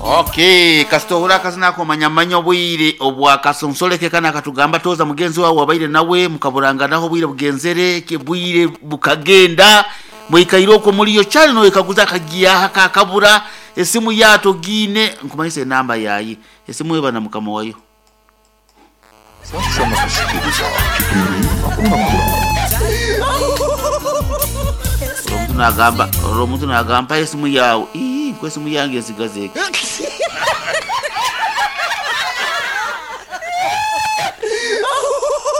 Okay, kasita ohurira akazina ako omanya manya obwire obwa kasonsoreke kanu akatugamba tooza mugenzi waawe wabaire nawe mukaburanganaho obwire bugenzere ke bwire bukagenda mwikaire okwo muriyo kyari noyekaguza akagiya aha kakabura esimu ye togiine nkumanyise enamba yaye esimu eba na mukama wayo. Sasa nakusikiliza kipindi Hakuna Kulala. Omuntu nagamba orwo omuntu nagamba mpayo esimu yaawe ii nko esimu yange ensigaze eka.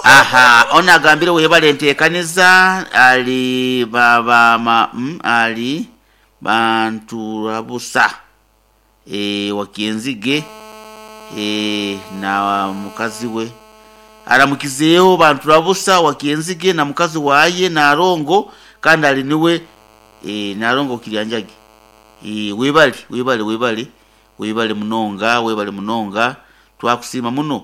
Aha onu agambire webale entekaniza ali ba ba ma mm, ali Banturabusa eh, Wakyenzige eh, na mukazi we aramukizeeho Banturabusa Wakyenzige na mukazi waye Narongo kandi ali niwe eh, Narongo Kiryanjagi eh, webale webale webale webale munonga webale munonga twakusiima muno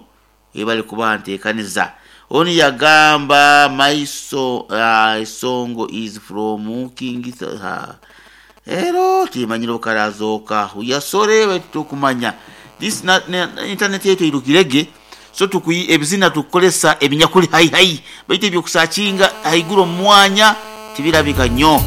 webale kuba ntekaniza. Onu yagamba my so, song is from King uh, Ero timanyire okarazooka uyasore baitu tokumanya this na, na, internet yaitu eirukirege so tukuyi ebizina tukukolesa ebinyakuli hai hai baitu ebyokusakinga haiguru omu mwanya tibirabika nyo.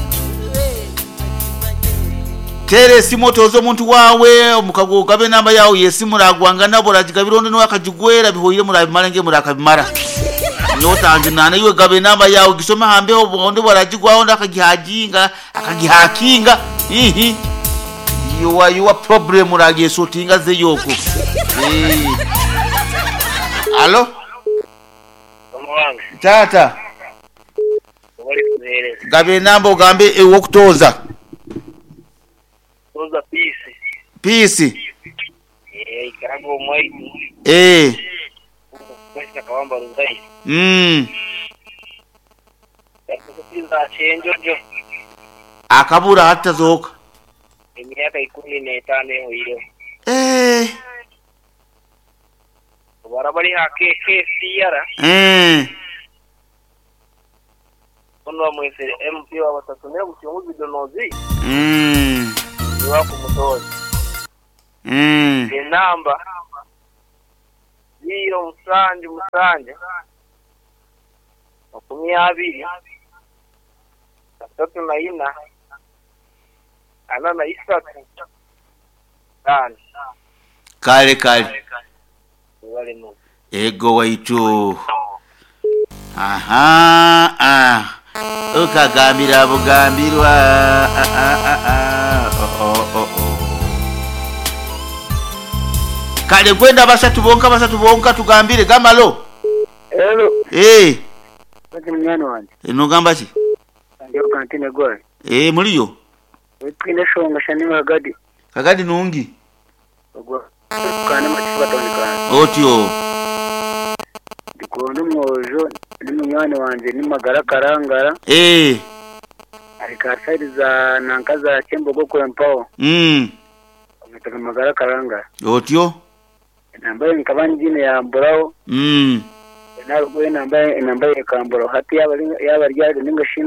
Teera esimu otooze omuntu waawe omukago ogabe enamba yaawe y'esimu oragwanga nabo oragigabira ondi niwe akagigwera bihoire murabimara nge murakabimara. Nyowe otanjunaana iwe gaba enamba yaawe ogisome aha mbeho ondi bwaragigwaho ondi akagihaginga akagihakinga ihi your, your problem oragyesotinga azeyo okwo. Eh. Alo Mama wange taata obali kuheereza. gaba enamba ogambe ew'okutooza. Toza Peace. Peace. Eh, ikaraga omwaitu. Eh. Kwesa Kawamba Ruzai. Yakukupiza Kyenjojo. Akabura hati tazooka. Emyaka 15 ehoireho. Eh. Barabari ha KKCR. Eh. Ono bamwesere MP wa batatu naye bukyungu bidonozi. Niwa kumutoza. Enamba 0 7 7 20 34 43 5. Kale kale. Wale no. Ego waitu. Aha ah. Ukagambira bugambirwa. Ah, ah, ah, ah. Oh, oh, oh, oh. Kale kwenda basatu bonka basatu bonka tugambire gamalo. Hello. Eh. Ati munyani wange. Nogamba ki? Ndiyo kantine gwayi. Eh muliyo. Twine shonga shani magadi. Kagadi nungi. Ogwa kana machifa tawani. Otyo. Ndikubona omwojo ni munywani wanje ni magara karangara. Eh. Ari ka side za nanka za Kyembogo kwempaho. Omwetaga magara karangara. Otyo. Enamba ye nkaba ngiine yamburaho. Narugaho enamba enamba ye ekamburaho. Hati yaaba ari yaaba ari ahari ninga shi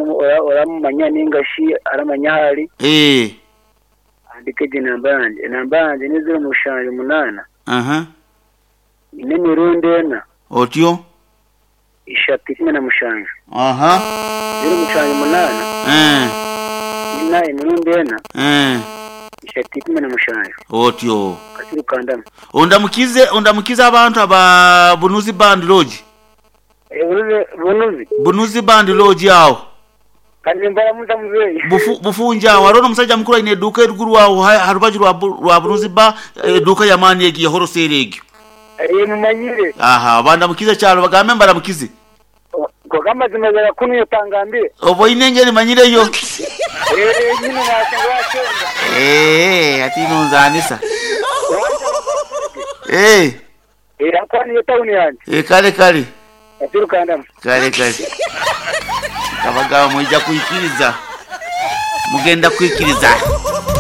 oramumanya ninga shi aramanya ahu ari. Eh. Ahandike egyo enamba yangye. Enamba yangye ni 078. Aha. Ina emirundi ena. Otyo. 3 17. Aha. 078. Eh. Ina emirundi ena. Eh. 3 17. Otyo. Kasirukandama. Ondamukize ondamukize abantu aba Bunuzi Band Lodge. Bunuzi Bunuzi. Bunuzi Band Lodge aho. Kandi mbaramuza muzeyi. Bufu, bufunja aho hariho n'omusajja mukuru aine eduuka eruguru aho ha rubaju rwa, rwa Bunuzi Bar eduuka y'amaani egyo ya wholesale egyo. Mumanyire. Aha bandamukize kyalo bagambe mbaramukize. Konka amazima gara kunu otangambire. Oboine engeri manyireyo. Nyine nashenga washenga. Eh, ati nonzanisa. Eh. Eh, akwa niyo town yange. Eh, kale kale. Kasirukandama. Kale kale. Kabagaba mwija kwikiriza. Mugenda kwikiriza.